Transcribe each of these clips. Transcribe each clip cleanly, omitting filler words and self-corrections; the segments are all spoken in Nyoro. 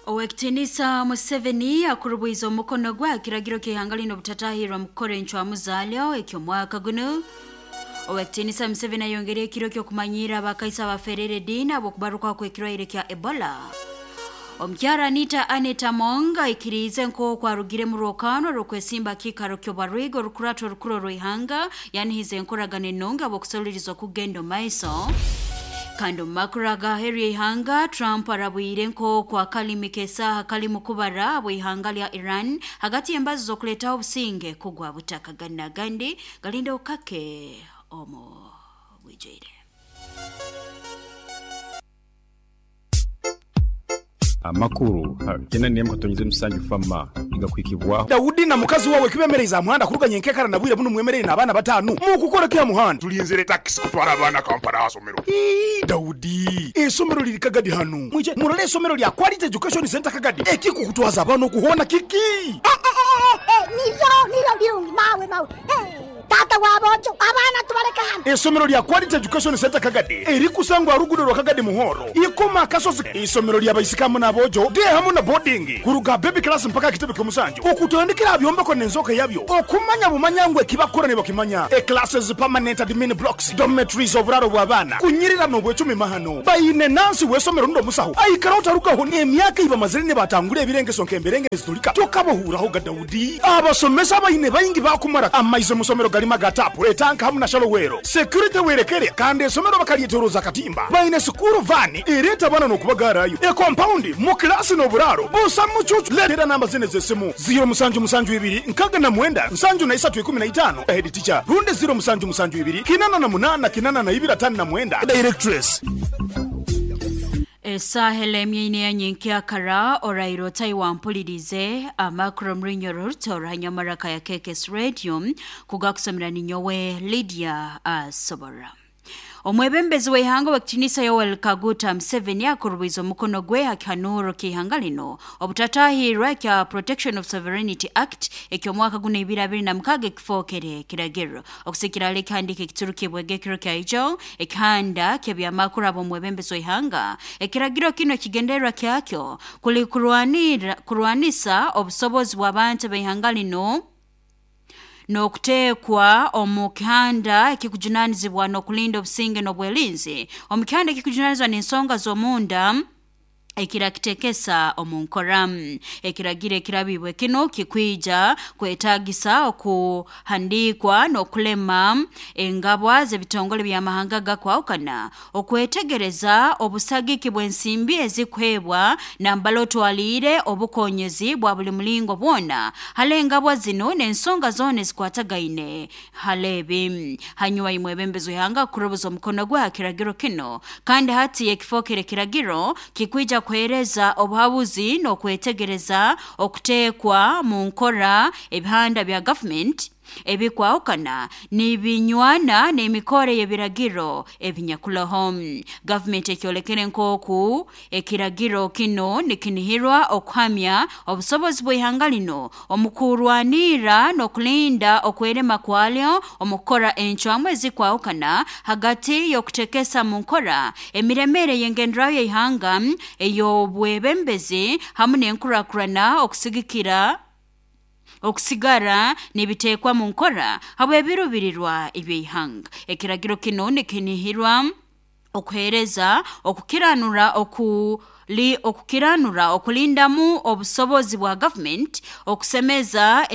Owekitinisa Museveni akurubwiza omukono gwe kiragiro ky'ihanga lino obutatahirwa mu kukora encwamu zaalyo eky'omwaka guno. Owekitinisa Museveni ayongera ekiro ky'okumanyiira abakaisa abaferere ediini habw'okubarukaho kw'ekirwaire kya Ebola. Omukyara Anita Annet Among aikiriize nk'oku arugire mu rwokaano rw'okwesimba kiikaro ky'obwarwiga orukurato orukuru orw'ihanga yanihiza enkoragana ennungi habw'okusoliriza okugenda omu maiso. Kandi omu makuru agaheru y'ihanga, Trump arabwire nk'oku akalimi k'esaaha kalimu kubara habw'ihanga lya Iran hagati y'embazo z'okuleetaho obusinge kugwa butaka. Gandi n'agandi galinde okukake omu bwijwire. Amakuru ha kyenda n'emu katonyeza musanju FAMA nigakuhikibwaho. Daudi na mukazi wawe kibemereize aha muhanda kuruga nyenkekara na bwire bunu mwemereire n'abaana batanu. Mukukora ki aha muhanda? Tulinzire takisi kutwara abaana Kampala aha somero. Ii, Daudi, esomero liri Kagadi hanu. Mwije murole esomero lya Quality Education Centre Kagadi. Ekikukutwaza abaana oku hoona kiki? Eh, eh, eh, eh, niryo, niryo birungi, mawe, mawe. Eh, taata w'aboojo, abaana tubaleke hanu. Esomero lya Quality Education Centre Kagadi erikusangwa aha ruguudo rwa Kagadi Muhoro, Ikoma Akasozi. Isomero lya baisiki hamu n'aboojo, day hamu na boarding, kuruga aha baby class mpaka aha kitebe ky'omusanju, okutandikira aha byombeko n'enzooka yabyo, okumanya bumanya ngu ekibakukora nibakimanya. E classes, permanent admin blocks, dormitories, oburaaro bw'abaana, kunyirira n'obwecumi mahano. Baine nansi w'esomero rundi omusaho aikaraho tarugaho emyaka ei bamazire nibatangura ebirengeso nk'emberenge nizitulika. Tokabahuurahoga Daudi. Abasomesa abaine baingi baakumara amaizi omu somero garimu aga taapu, etanka hamu na shalowero. Security werekere kandi esomero bakaryetoroza akatimba. Baine sikuuru vaani ereeta abaana n'okubagaarayo. Ekompaundi, mu kilaasi n'oburaaro busa mucuucu. Leetera namba zinu ez'esimu, ziiro musanju musanju ibiri nkaaga na mwenda nsanju na isatu ikumi na itaano, head teacher, rundi ziiro musanju musanju ibiri kinana na munaana kinana na ibiri ataano na mwenda, directress. Esaaha elemyaine ya nyenkyakara oraire otayi wampulirize amakuru omurinyo oruruto orwa ya KKS Radio kugakusomera ninyowe Lydia Asobora. Omwebembezi w'ihanga w'ekitinisa Yoweri Kaguta Museveni akurubwiza omukono gwe ha kihanuuro ky'ihanga lino obutatahirwa ekya Protection of Sovereignty Act eky'omwaka guno ebiri abiri na mukaaga ekifookere kiragiro. Okusikira hali ekihandiiko ekiturukibwege ekiro kya ijo ekihanda ky'ebyamakuru ab'omwebembezi w'ihanga, ekiragiro kinu ekigendererwa kyakyo kuli kurwanisa obusobozi bw'abantu b'ihanga lino n'okuteekwa omu kihanda ekikujunanizibwa n'okulinda obusinge n'obwelinzi omu kihanda ekikujunanizibwa n'ensonga z'omunda ekirakitekesa omu nkora. Ekiragiro ekirabibwe kinu kikwija kwetagisa okuhandiikwa n'okulema engabwa z'ebitongole by'amahanga gakwahukana, okwetegereza obusagiki bw'ensimbi ezikuheebwa nambala otwaliire obukonyezi bwa buli mulingo bwona hali engabwa zinu n'ensonga zoona ezikwatagaine hali ebi. Hanyuma imwebembezi w'ihanga kurubuza omukono gwe ha kiragiro kinu, kandi hati ekifookere kiragiro kikwija kuheereza obuhabuzi n'okwetegereza okuteekwa mu nkora ebihanda bya gavumenti ebikwahukana nibinywana n'emikoro y'ebiragiro ebinyakuloho. Gavumenti ekyolekere nk'oku ekiragiro kinu nikinihirwa okuhamya obusobozi bw'ihanga lino omu kurwanirra n'okulinda okwerema kwalyo omu kukora encwamu ezikwahukana hagati y'okutekesa mu nkora emiremere y'engenderaho y'ihanga ey'obwebembezi hamu n'enkurakurana okusigikira okusigara nibiteekwa mu nkora habw'ebirubirirwa eby'ihanga. Ekiragiro kinu nikinihirwa okuheereza okukiranura okukiranura okulindamu obusobozi bwa gavumenti, okusemeza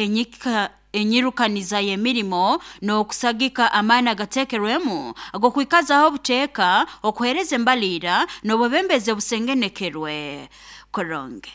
enyirukaniza y'emirimo n'okusagika amaani agateekerwemu ag'okwikazaho obuteeka, okuheereza embaliira n'obwebembezi obusengenekerwe kurungi.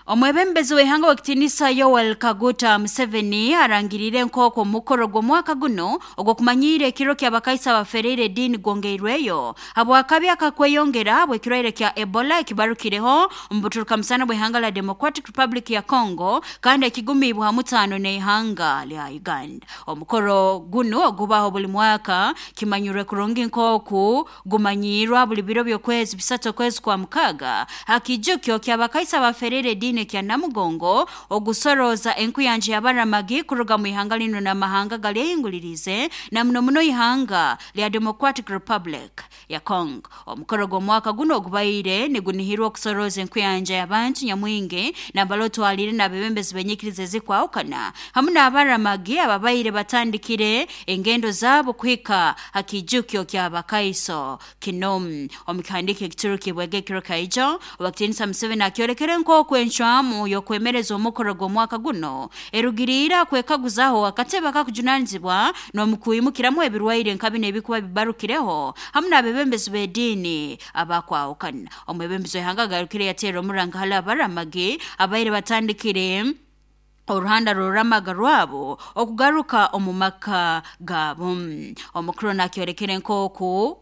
Omwebembezi w'ihanga w'ekitinisa Yoweri Kaguta Museveni arangiriire nk'oku omukoro gw'omwaka guno ogw'okumanyiira ekiro ky'abakaisa abafereire ediini gwongeirweyo habw'akabi akakweyongera habw'ekirwaire kya Ebola ekibarukireho omu buturukamusana bw'ihanga lya Democratic Republic ya Congo kandi ekigumiibwe ha mutaano n'ihanga lya Uganda. Omukoro guno ogubaho buli mwaka kimanyirwe kurungi nk'oku gumanyiirwa buli biro by'okwezi bisatu okwezi kwa mukaaga ha kijukyo ky'abakaisa abafereire ediini. kino ekya Namugongo ogusoroza enkuyanja y'abaramagi kuruga mu ihanga lino n'amahanga galyehingulirize na muno muno ihanga lya Democratic Republic ya Congo. Omukoro gw'omwaka guno ogubaire nigunihirwa okusoroza enkuyanja y'abantu nyamwingi nabalotwalire n'abebembezi b'enyikiriza ezikwahukana hamu n'abaramagi ababaire batandikire engendo zaabo kuhika ha kijukyo ky'abakaiso kino. Omukihandiko ekiturukibwege ekiro kaijo Owakitinisa Museveni akyolekere nk'oku encwamu y'okwemereza omukoro gw'omwaka guno erugiriire kwekaguzaho akatebe akakujunanizibwa n'omukwimukiramu ebirwaire nka bino ebikuba bibarukireho hamu n'abebembezi b'ediini abakwahukana. Omwebembezi w'ihanga agarukire yateera omuranga hali abaramagi abaire batandikire oruhanda rw'oruramaga rwabo okugaruka omu maka gaabo. Omukuru nakyolekere nk'oku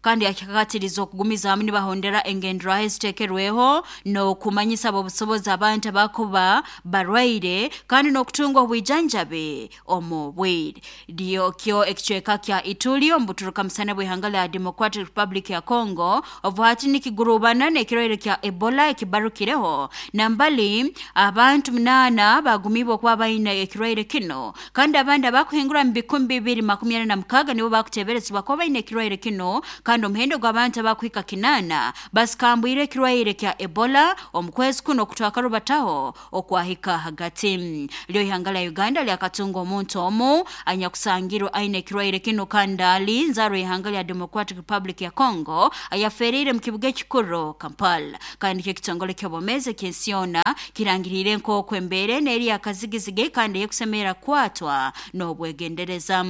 kandi akikakatiriza okugumiza hamu nibahondera engenderaho eziteekerweho n'okumanyisa ab'obusobozi abantu abakuba barwaire kandi n'okutunga obwijanjabi omu bwire. Lyokyo ekicweka kya Ituri omu buturuka musana bw'ihanga lya Democratic Republic ya Congo obu hati nikigurubana n'ekirwaire kya Ebola ekibarukireho nambali abantu 8 bagumibwa okuba baine ekirwaire kino kandi abandi abakuhingura mu 2026 nibo bakuteberezibwa kuba baine ekirwaire kino kandi omuhendo gw'abantu abakuhika 8 basikambwire ekirwaire kya Ebola omu kwezi kuno okutwakarubataho okwahika hagati. Lyo ihanga lya Uganda lyakatunga omuntu omu anyakusangirwe aine ekirwaire kino kandi ali nzarwa ihanga lya Democratic Republic ya Congo ayaferiire mu kibuga ekikuru Kampala. Kandi kyo ekitongole ky'obwomeezi eky'ensi yoona kirangiriire nk'oku embeera enu eri yakazigizigi kandi ey'okusemerera kukwatwa n'obwegendereza.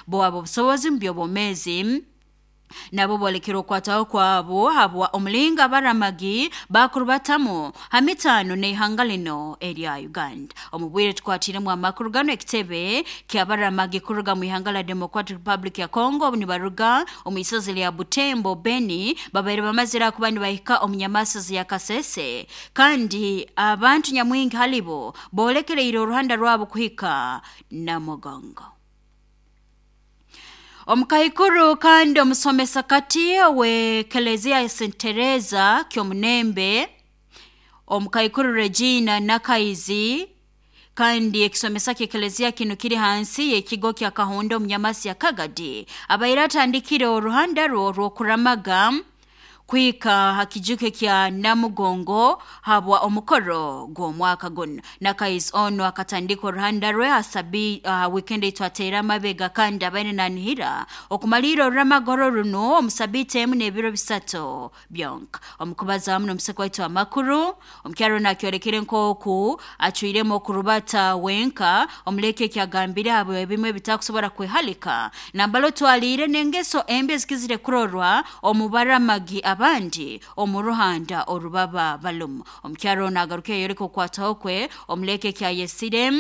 Bo ab'obusobozi mu by'obwomeezi nabo bolekera okwataho kwabo habwa omulingo abaramagi bakurubatamu ha mitaano n'ihanga lino erya Uganda. Omu bwire tukwatiremu amakuru gano ekitebe ky'abaramagi kuruga mu ihanga lya Democratic Republic ya Congo obu nibaruga omu isozi lya Butembo Beni babaire bamazire kuba nibahika omu nyamasozi ya Kasese kandi abantu nyamwingi halibo bolekereire oruhanda rwabo kuhika Namugongo. Omukaikuru kandi omusomesa kati w'Eklezia ya St. Teresa Kyomunembe omukaikuru Regina Nakaizi kandi ekisomesa ky'eklezia kino kiri hansi y'ekigo kya Kahonda omu nyamasi ya Kagadi abaire atandikire oruhanda rwe orw'okuramaga kuhika ha kijuke kya Namugongo habwa omukoro gw'omwaka guno. Nakaizi ono akatandika oruhanda rwe hasabi weekend etwateera amabega kandi abaire nanihira okumalira oruramagoro runo omu sabiiti emu n'ebiro 3 byonka. Omukubaza hamu n'omuseko waitu amakuru omukyaro nakyolekere nk'oku acwiremu okurubata wenka omuleke ekyagambire abo ebimu ebitakusobora kwehalika nambala otwaliire n'engeso embi ezikizire kurorwa omu baramagi abandi omu ruhanda orubaba balumu. Omukyaro ono agaruka eyoleka okukwataho kwe omuleke ekyayesire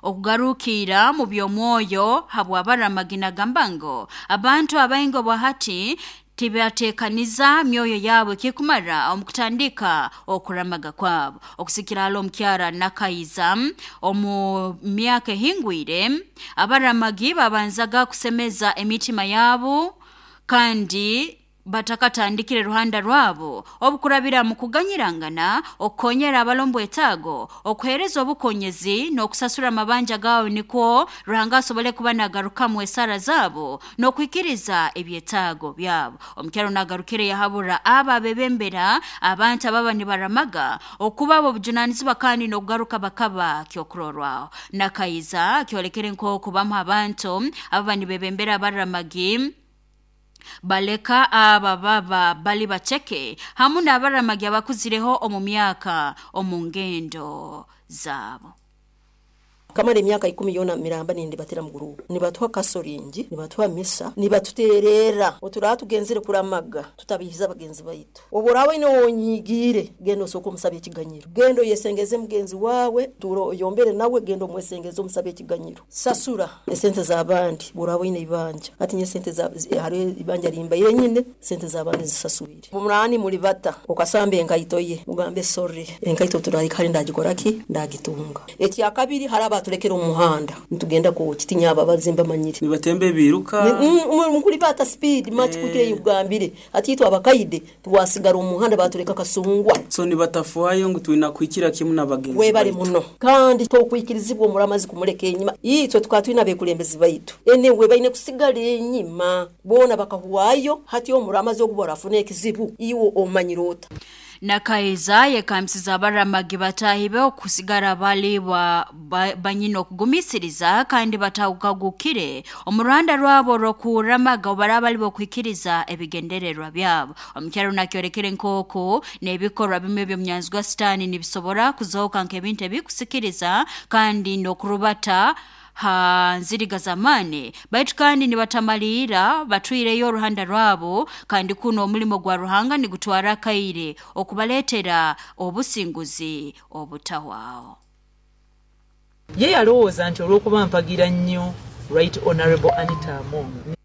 okugarukira mu by'omwoyo habw'abaramagi nagamba ngu abantu abaingi obwahati tibatekaniza myoyo yabo ekikumara omu kutandika okuramaga kwabo. Okusikira hali omukyara Nakaiza omu myaka ehingwire abaramagi babanzaga kusemeza emitima yabo kandi batakatandikire ruhanda rwabo obukurabira mu kuganyirangana okukonyera abalombo etaago okuhereza obukonyezi n'okusasura amabanja gaabo nikwo Ruhanga asobole kuba nagarukamu esara zaabo n'okwikiriza ebyetaago byabo. Omukyaro nagarukire yahabura aba abebembera abantu ababa nibaramaga okuba abo obujunanizibwa kandi n'okugaruka bakaba kyokurorwaho. Nakaiza kyolekere nk'oku bamu abantu ababa nibebembera abaramagi baleka aba baba bali baceke hamu n'abaramagi abakuzireho omu myaka omu ngendo zaabo. Kamara emyaka 10 yona miramba nindibatira mu gurupu nibatuha kasoringi nibatuha misa nibatuterera otura tugenzere kuramaga tutabihiza bagenzi baitu oborawe ino wonyigire gendo soko omusabye ekiganyiro gendo yesengeze mugenzi wawe turo yombere nawe gendo mwesengeze omusabye ekiganyiro sasura esente z'abandi borawe ino ibanja ati nye sente za hari ibanja rimbaire nyine sente z'abandi zisasubire mumurani muri bata okasambe enkaito ye mugambe sorry enkaito turari kandi ndagikora ki ndagitunga ekya kabiri haraba Batulekera omu muhanda nitugenda Kooki, tinyababazi mbamanyire. Nibatemba ebiruka. Nkulibata speed much kwikire yugambire ati itwe abakaide twasigara omu muhanda batuleka Kasungwa. So nibatafuayo ngu twina kuhikira kimu n'abagenzi webale muno, kandi tokwikirizibwa omuramazi kumuleka enyima. Itwe tukaba twina abekulembezi baitu enewe baine kusigara enyima boona bakahuwayo. Hati omuramazi ogu barafuna ekizibu iwe omanyire ota. Nakaiza yekamsiza abaramagi batahibe okusigara bali banyina okugumisiriza kandi batawukagukire omu rwanda rwabo rw'okuramaga obaraba bali bokwikiriza ebigendererwa byabo. Omukyaro nakyorekere nk'oku n'ebikorwa bimwe eby'omunyanzi gwa sitaani nibisobora kuzooka nk'ebintu ebikusikiriza kandi n'okurubata ha nziriga z'amaani, baitu kandi nibatamaliira batwireyo oruhanda rwabo, kandi kuno omulimo gwa Ruhanga nigutwara akaire okubaleetera obusinguzi obutahwaho. Ye yalowooza nti olw'okuba mpagira nnyo Right Honourable Anita Among,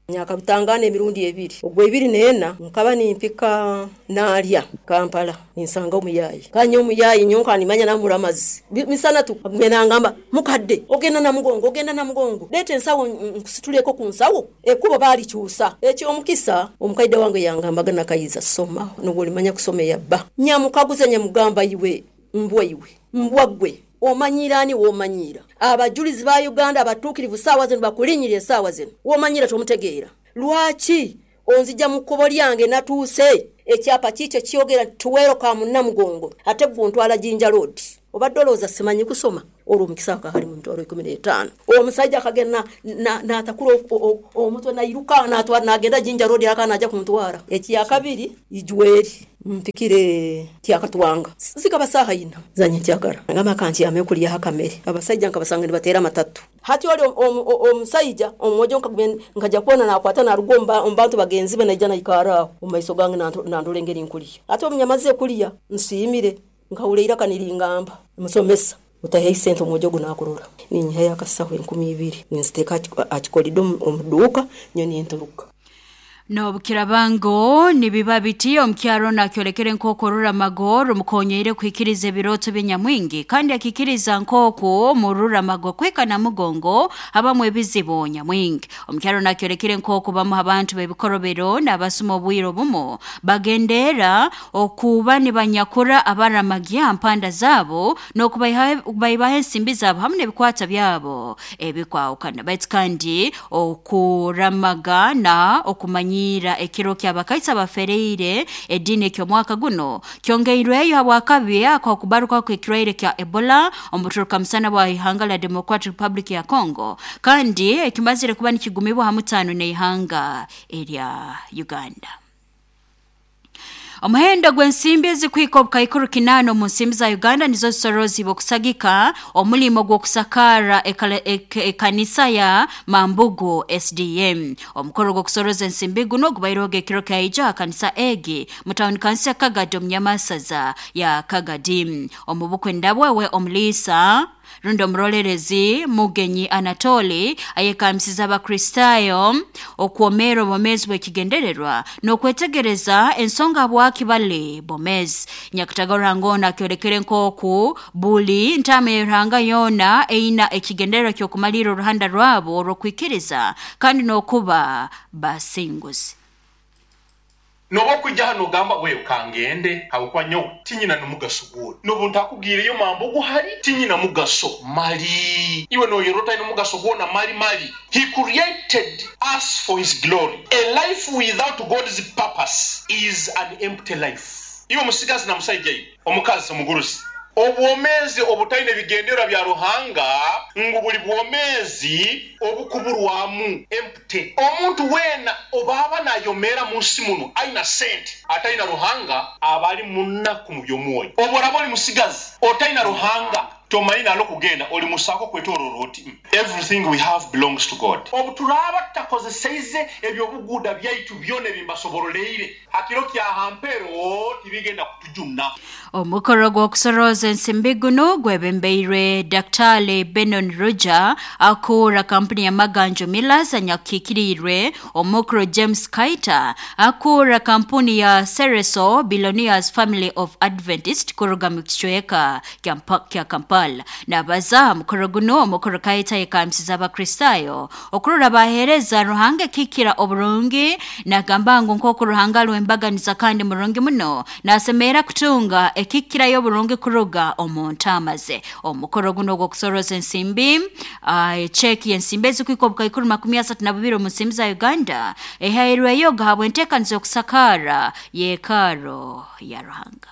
Nyakabutangana emirundi ebiri, ogwa 24 nkaba nimpika naalya Kampala ninsanga omuyayi, kanya omuyayi nyonka nimanya namuramazi misana tu agumye nangamba mukadde ogenda Namugongo, ogenda Namugongo, leeta ensawo nkusituleko ku nsawo, ekkubo baalikyusa. Ekyomukisa omukaide wange yangambaga Nakaiza soma nobwo olimanya kusoma eyabba. Nyamukaguza nyamugamba iwe mbwa iwe mbwa gwe omanyiira ani w'omanyiira? Abajulizi ba Uganda abatuukirivu saawa zino bakulinyirira esaawa zino w'omanyiira tomutegeera. Lwaki onzija mu kkubo lyange natuuse ekyapa kiikyo kyogera nti tuweeroka mu Namugongo ate gwe ontwala Jinja Road. Obadde olowooza simanyi kusoma? Olwo omukisa akahali mu mitwalo 15. Omusajja akagenda n'atakula omutwe nairuka natwara nagenda Jinja Road aka naja kuntwara. Ekyakabiri ijweri mpikire Kyakatwanga zikaba saaha ina zanye nkyakara ngamba kankyame okulyaho akamere. Abasajja nkabasanga nibateera amatatu. Hati oli omusajja omwojo nkaja kubona nakwata naruga omu bantu bagenzi be naija naikara aho omu maiso gange nandora engeri nkulya. Hati omunyamaze kulya nsiimire nkahurra eiraka niringamba musomesa utaheyo sente omwojo ogu nakurora. Ninyihayo akasaho 2000 ninziteeka akikolido omu duuka nyo ninturuka. N'obukirabango nibiba biti omukyaro nakyolekere nk'oku oruramago rumukonyeire kuhikiriza ebirooto by'enyamwingi, kandi akikiriza nk'oku mu ruramago kwika Namugongo habamu ebizibu nyamwingi. Omukyaro nakyolekere nk'oku bamu abantu b'ebikorobero n'abasuma obwire obumu bagendeera okuba nibanyakura abaramagi aha mpanda zaabo n'okubaibaho ensimbi zaabo hamu n'ebikwata byabo ebikwahukana. Baitu kandi okuramaga na okumanya ekiro ky'abakaisa bafereire ediini eky'omwaka guno kyongeirweyo habwakabi ak'okubaruka kw'ekirwaire kya Ebola omuturuka musana bwa ihanga la Democratic Republic ya Congo, kandi ekimazire kuba nikigumibwa ha mutaano n'ihanga erya Uganda. Omuhendo gw'ensimbi ezikwika obukaikuru 8 omu nsimbi za Uganda nizo zisorozibwa okusagika omulimo gw'okusakaara ekanisa ya Mambugu SDM. Omukoro gw'okusoroza ensimbi guno gubaireho ekiro kyaija aha kanisa egi mu tawuni kanisa ya Kagadi omu Nyamasaza ya Kagadi. Omu bukwenda bwewe omuliisa rundi omurolerezi Mugenyi Anatoli ayekamisiza Abakristaayo okwomeera obwomeezi bw'ekigendererwa n'okwetegereza ensonga habwaki bali bomezi. Nyakatagara Ruhanga ono akyolekere nk'oku buli ntaama ya Ruhanga yoona eina ekigendererwa ky'okumalirra oruhanda rwabo orw'okwikiriza kandi n'okuba basinguzi. Noba okwijja hano ogamba wewe kangende habwokuba nyowe tinyina n'omugaso gwona, n'obu ntakubwireyo Mambugu hali tinyina mugaso mali, iwe noyerora otalina omugaso gwona mali mali. He created us for his glory. A life without God's purpose is an empty life. Iwe musigazi na musaija iwe omukazi omugurusi, obwomeezi obutalina ebigendererwa bya Ruhanga ngu buli bwomeezi obukuburwamu, empty. Omuntu weena obaaba nayomeera mu nsi muno aina sente atalina Ruhanga aba ali munaku mu by'omwoyo. Obu oraba oli musigazi otalina Ruhanga Tomanyi nalo kugenda oli musaako kwetooloola oti. Everything we have belongs to God. Obu turaaba tutakozeseize ebyobuguuda byaitu byona ebimbasoboroleire hakiro kya hampero tibigenda kutujuna. Omukoro gw'okusoroza ensimbi guno gwebembeirwe Daktari Benon Roger akura kampuni ya Maganjo Millers anyakikirirwe omukoro James Kaita akura kampuni ya Cereso Billionaires Family of Adventist kuruga mu kicweka kya Kampala. Nabaza mukoro guno omukoro Kaita yekamsiza Abakristayo okurora bahereza Ruhanga kikira oburungi nagamba ngu nk'oku Ruhanga alwembaganiza kandi murungi muno nasemera kutunga ekikirayo burungi kuruga omu ntama ze. Omukoro guno ogw'okusoroza ensimbi echeki y'ensimbi ezikwika obukaikuru 32 omu nsimbi za Uganda ehairweyo gahabwa enteekaniza y'okusakaara yeekaaro ya Ruhanga.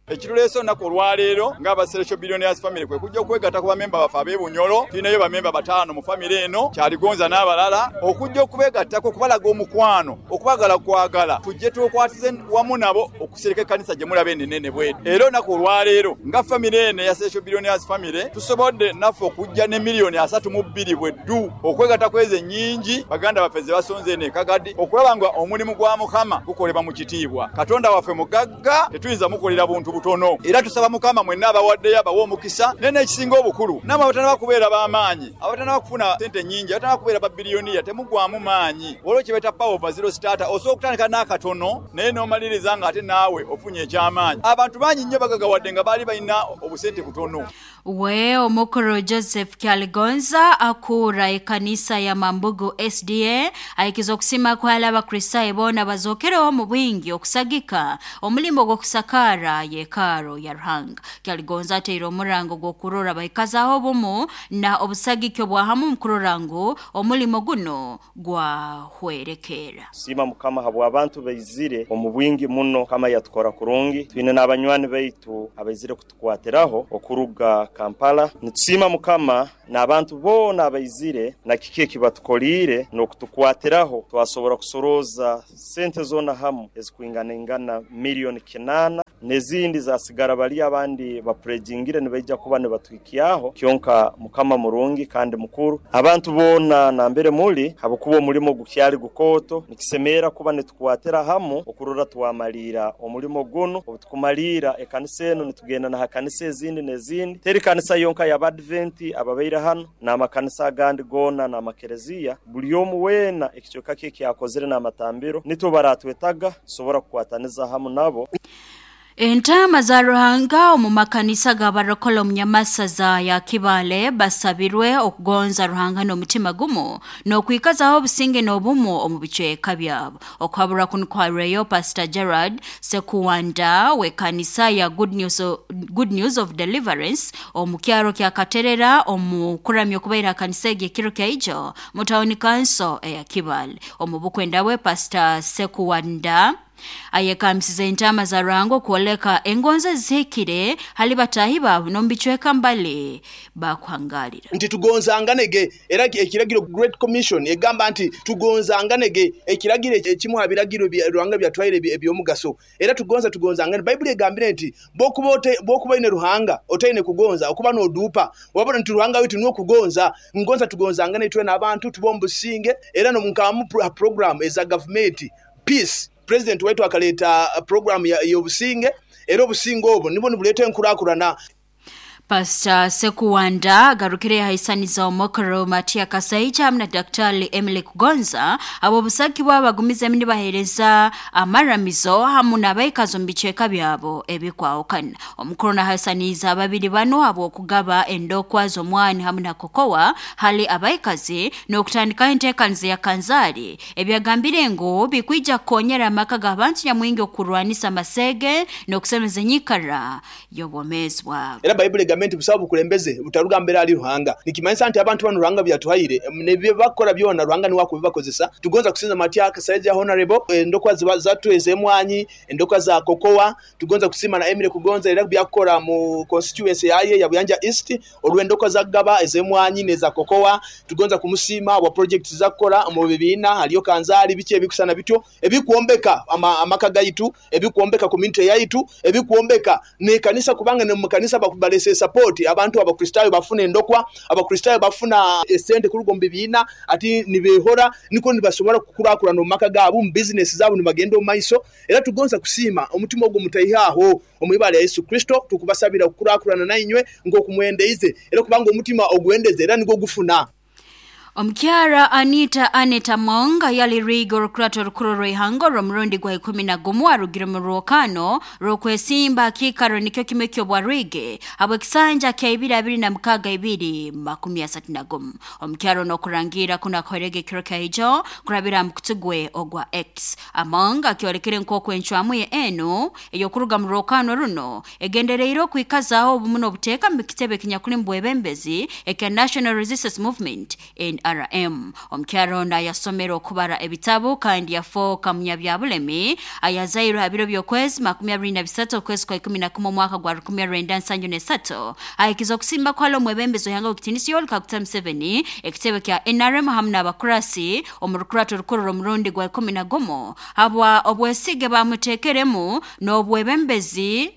Ekiruleese olunaku olwaleero ng'abaseresho Billionaires Family kwe kujja okwegatta ku bamemba baffe ab'Ebunyoro. Tulinayo bamemba 5 mu famire eno, Kyaligonza n'abalala, okujja okubeegattako okubalaga omukwano, okubagala kwagala, tujje tukwatize wamu nabo okusereka ekkanisa gye mulaba eno ennene bw'eti. Era olunaku olwaleero nga famire eno eya Seresho Billionaires Family tusobodde naffe okujja ne miliyoni 32 bweddu okwegatta ku ezo ennyingi baganda baffe ze basonze eno e Kagadi okulaba nga omulimu gwa Mukama gukolebwa mu kitiibwa. Katonda waffe mugagga, tetuyinza mukolera buntu butono. Era tusaba Mukama mwenna abawaddeyo abawe omukisa, naye n'ekisinga obukulu nammwe abatanaba kubeera b'amaanyi, abatanaba kufuna ssente nnyingi, abatanaba kubeera babiliyoniya, temugwamu maanyi. Waliwo kye bayita power of zero starter, osobola okutandika n'akatono naye n'omaliriza ng'ate naawe ofunye eky'amaanyi. Abantu bangi nnyo bagagawadde nga baali balina obusente butono. We omukuru Joseph Kyaligonza akura ekanisa ya Mambugu SDA ayikiza okusima kwala Abakristayo boona bazookereho mu bwingi okusagika omulimo gw'okusakaara yeekaaro ya Ruhanga. Kyaligonza ateire omurango gw'okurora baikazaho obumu na obusagiki obwahamu mukurora ngu omulimo guno gwahwerekeera. Siima Mukama habw'abantu baizire omu bwingi muno. Mukama yatukora kurungi, twine n'abanywani baitu abaizire kutukwatiraho okuruga Kampala. Nitusiima Mukama n'abantu boona abaizire na kiki ekibatukoliire n'okutukwatiraho twasobora kusorooza sente zoona hamu ezikwinganaingana miliyoni 8 n'ezindi zasigara bali abandi bapurejingire nibaija kuba nibatuhikyaho. Kyonka Mukama murungi kandi mukuru. Abantu boona nambere muli habwokuba omulimo gukyali gukooto, nikisemeera kuba nitukwatira hamu okurora twamaliira omulimo guno. Obutukumaliira ekanisa eno nitugenda naha kanisa ezindi n'ezindi, teri kanisa yonka y'Abadventi ababaire hano, n'amakanisa agandi goona n'amakereziya. Buli omu weena ekicweka kye ekyakozire n'amatambiro nitwo baratwetaga tusobora kukwataniza hamu nabo. Entama za Ruhanga omu makanisa g'abarokola omu nyamasaza ya Kibale basabirwe okugonza Ruhanga n'omutima gumu n'okwikazaho obusinge n'obumu omu bicweka byabo. Okuhabura kunu kwareyo Pastor Gerard Sekuwanda w'ekanisa ya Good News of Deliverance omu kyaro kya Katerera omu kuramya okubaira kanisa egi ekiro kya ijo mu tawuni kanso eya Kibale. Omu bukwenda bwe Pastor Sekuwanda ayekambisiza entama za Ruhanga okwoleka engonzi ezihikire hali batahi baabo n'omu bicweka mbali bakuhangalira. Nti tugonzanganege, era ekiragiro Great Commission egamba nti tugonzanganege, ekiragiro ekimu aha biragiro Ruhanga byatwaire eby'omugaso. Era tugonza tugonzangane. Bayibuli egambire nti bw'okuba oine Ruhanga otaine kugonza okuba n'oduupa wabona nti Ruhanga waitu niwe kugonza. Ngonza tugonzangane itwe n'abantu tuba omu businge. Era nkamu program eza gavumenti peace. President waitu akaleta program y'obusinge, era obusinge obwo nibwo nibuleeta enkurakurana. Pastor Sekuwanda agarukire yahaisaniza omukuru Matia Kasaija hamwe na Daktari Emily Kugonza abo busaki bwabo bagumizemu nibaheereza amaramizo hamu n'abaikazi omu bicweka byabo ebikwahukana. Omukuru nahaisaniza ababiri bano habw'okugaba endokwa z'omwani hamu na kokowa hali abaikazi n'okutandikaho enteekaniza ya kanzaari ebyagambire ngu bikwija kukonyera amaka g'abantu nyamwingi okurwanisa amasege n'okusemeza enyikara y'obwomeezi bwabo. Era Bayibuli egamba nti busabe bukulembeze butaruga mbere ali Ruhanga. Nikimanyisa nti abantu bano Ruhanga byatuhaire nebyo bakora byona Ruhanga niwe akubibakozesa. Tugonza kusinza Matia Kasaija Honorable endokwa zatweze emwanyi, endokwa za kokowa, tugonza kusima na Emily Kugonza era byakora mu constituency yaye ya Buyanja East olw'endokwa za gaba ez'emwanyi neza kokowa. Tugonza kumusima wa project zakora mu bibiina haliyo kanzaali biki ebikusana bityo ebikwombeka amaka gaitu, ebikwombeka community yaitu, ebikwombeka n'ekanisa, kubanga ne mu kanisa bakubalesesa support abantu Abakristaayo bafuna endokwa, Abakristaayo bafuna esente kuruga omu bibiina ati nibeehora nikwo nibasobora kukurakurana omu maka gaabu, omu bizinesi zaabu nibagenda omu maiso. Era tugonza kusiima omutima ogu mutaihe aho omu ibara lya Yesu Kristo tukubasabira okukurakurana nainywe nk'oku mwendeize era kubanga omutima ogwendeze era nigwo gufuna. Omukyara Anita Annet Among yali Riiga orukurato orukuru rw'ihanga orw'omurundi gwa 11 arugire mu rwokano rw'okwesimba kiikaro nikyo kimwe ky'obwa Rwige habw'ekisanja kya 2026 231. Omukyara ono okurangira kuno akoherege ekiro kya ijo kurabira mu mukutu gwe ogwa X. Among akyolekere nk'oku encwamu ye enu ey'okuruga mu rwokano runo egendereire okwikazaaho obumu n'obuteeka mu kitebe ekinyakuli mu bwebembezi ekya National Resistance Movement NRM. Omukyara ono ayasomere okubara ebitabu kandi yafooka munyabyabulemi ayazairwe ha biro by'okwezi 23 okwezi kwa 11 omwaka gwa 1973 ahikiza okusimba kwali omwebembezi w'ihanga w'ekitiinisa Yoweri Kaguta Museveni ekitebe kya NRM hamu n'abakurasi omu rukurato rukuru rw'omurundi gwa 11 habwa obwesige bamuteekeremu n'obwebembezi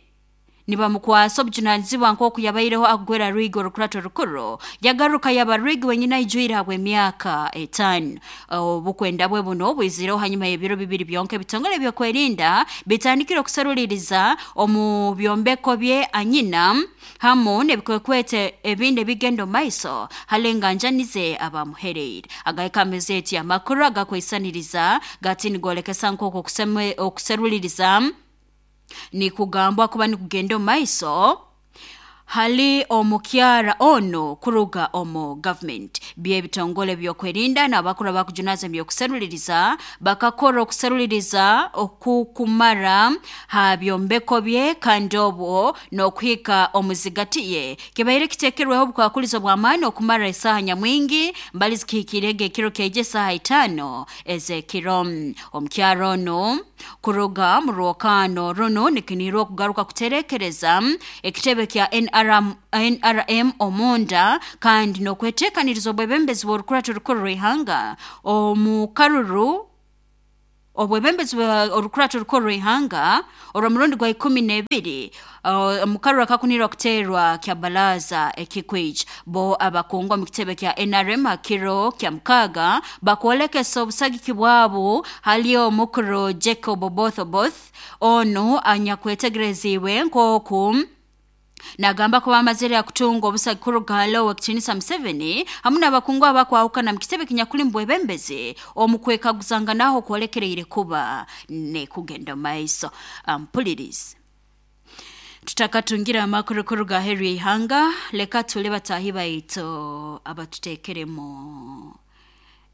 nibamukwasa obujunanizibwa nk'oku yabaireho akugwera Rwigi orukurato rukuru yagaruka yaba Rwigi wenyine aijwire habw'emyaka 5. Obukwenda bwe buno bwizireho hanyuma y'ebiro bibiri byonka ebitongole ebyokwerinda bitandikire okuseruliriza omu byombeko bye anyina hamu n'ebikwekwete ebindi ebigenda omu maiso hali enganjani ze abamuhereire. Agahika amezeti amakuru agakweisaniriza gati nigolekesa nk'oku okuseruliriza nikugambwa kuba nikugenda omu maiso hali omukyara ono kuruga omu government. By'ebitongole byokwerinda n'abakuru abakujunaza ebyokuseruliriza bakakora okuseruliriza okukumara ha byombeko bye kandi obwo n'okuhika omuzigati ye kibaire kiteekerweho obukwakulizo bw'amaani okumara esaaha nyamwingi mbali zikihikirege ekiro kyaija esaaha 5 ez'ekiro. Omukyara ono kuruga mu rwokano runo nikinihirwa okugaruka kuterekereza ekitebe kya NRM omunda kandi n'okweteekaniriza obwebembezi bw'orukurato rukuru rw'ihanga omu karuru obwebembezi bwa orukurato rukuru rw'ihanga orw'omurundi gwa 12 omu karuru akakunirwa kuteerwa kya baraza ekikwija. Bo abakungu omu kitebe kya NRM hakiro kya mukaaga bakwolekesa obusagiki bwabo hali omukuru Jacob Oboth Oboth onu anyakwetegereziibwe nk'oku nagamba kuba amazire akutunga obusagi kuruga hali owekitiinisa Museveni hamu n'abakungu abakwahukana mu kitebe kinyakuli mu bwebembezi omu kwekaguzanganaho kwolekereire kuba nekugenda omu maiso. Mpulirize tutakatungire amakuru kuruga aheeru y'ihanga, leka tule bataahi baitu abatuteekeremu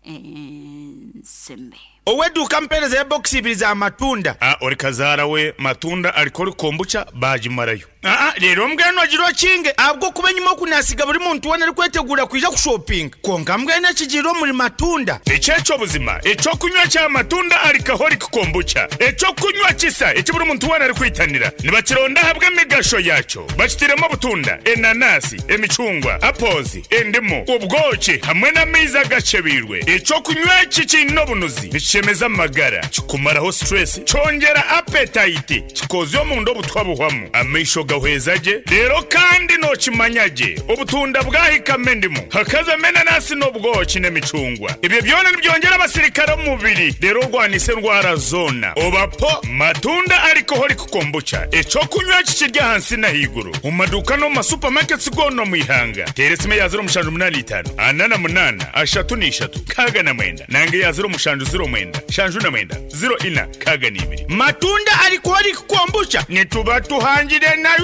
ensimbi. Ow'eduuka ampeereza ebokisi ibiri za matunda. A Ori kazaara we matunda arikora kombucha baagimarayo. Aa Reero mbwenu ogira okinge ahabw'okuba enyima oku naasiga buri muntu weena arikwetegura kwija kushopinga. Kwonka mbwenu ekigiire omuri matunda. Eki eky'obuzima eky'okunywa kya matunda alcoholic kombucha, eky'okunywa kisa eki buri muntu weena arikwitanira. Nibakironda ahabw'emigasho yaakyo. Bakitairemu obutunda, enanasi, emicungwa, apples, endimu, obwoki hamwe n'amaizi agakyebeirwe. Eky'okunywa eki kiine obunuzi, nikishemeza amagara, kikumaraho stress, kyongyera appetite, kikoozya omunda obutwa buhwamu, amaisho gahweza gye, reero kandi nookimanya gye obutunda bwahikamu endimu, hakazamu enanasi n'obwoki n'emicungwa. Ebyo byona nibyongyera abasirikare omu mubiri reero orwanise endwara zoona. Oba po Matunda Alcoholic Kombucha, eky'okunywa eki kiri ahansi n'ahaiguru omu maduuka n'omu ma supermarkets goona omu ihanga. Teera esimu eya 0785 48 33 69 nanga eya 0709 79 04 62. Matunda Alcoholic Kombucha nituba tuhangire nayo.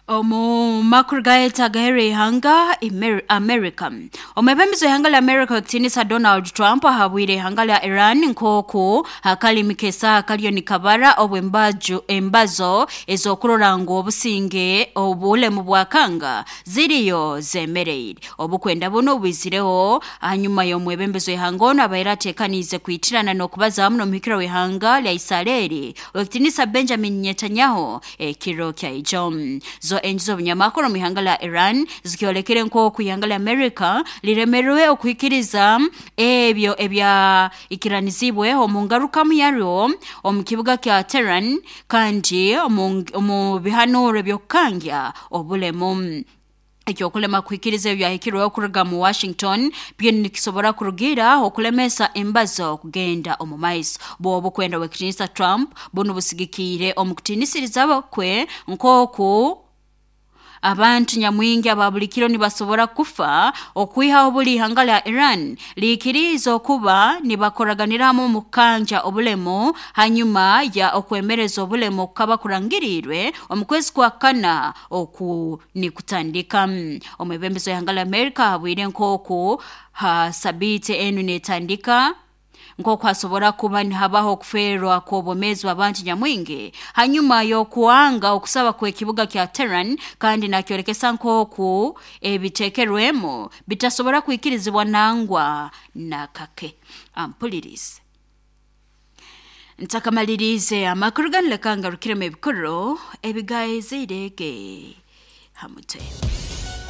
Omu makuru gaitu agaheeru y'ihanga America. Omwebembezi w'ihanga lya America w'ekitiinisa Donald Trump ahabwire ihanga lya Iran nk'oku akalimi k'esaaha kariyo nikabara obu embazo ez'okurora ngu obusinge obulemu bwakanga ziriyo zemereire. Obukwenda buno bwizireho hanyuma y'omwebembezi w'ihanga onu abaire ateekaniize kwitirana n'okubaza hamu n'omuhikira w'ihanga lya Israeli w'ekitiinisa Benjamin Netanyahu ekiro kya ijo. Zo enju z'obunyamakuru omu ihanga lya Iran zikyolekere nk'oku ihanga lya America liremerwe okuhikiriza ebyo ebyaikiranizibwe omu ngarukamu yaryo omu kibuga kya Tehran kandi omu bihanuro eby'okukangya obulemu. Ekyokulema kuhikiriza ebyahikirweho kuruga mu Washington byo nikisobora kurugira okulemesa embazo kugenda omu maiso. Bwobu kwenda w'ekitinisa Trump bunu busigikiire omu kutinisiriza kwe nk'oku abantu nyamwingi aba buli kiro nibasobora kufa okwihaho buli ihanga lya Iran liikiriza okuba nibakoraganiramu omu kukanja obulemu hanyuma ya okwemereza obulemu okukaba kurangirirwe omu kwezi kwa kana oku nikutandika. Omwebembezi w'ihanga lya America ahabwire nk'oku ha sabiiti enu netandika nk'oku hasobora kuba nihabaho okuferwa kw'obwomeezi bw'abantu nyamwingi hanyuma y'okuwanga okusaba kw'ekibuga kya Tehran, kandi nakyolekesa nk'oku ebitekerwemu bitasobora kwikirizibwa nangwa nakake. Ampulirize ntakamaliriize amakuru ganu, leka ngarukiremu ebikuru ebigaeziirege ha mutwe.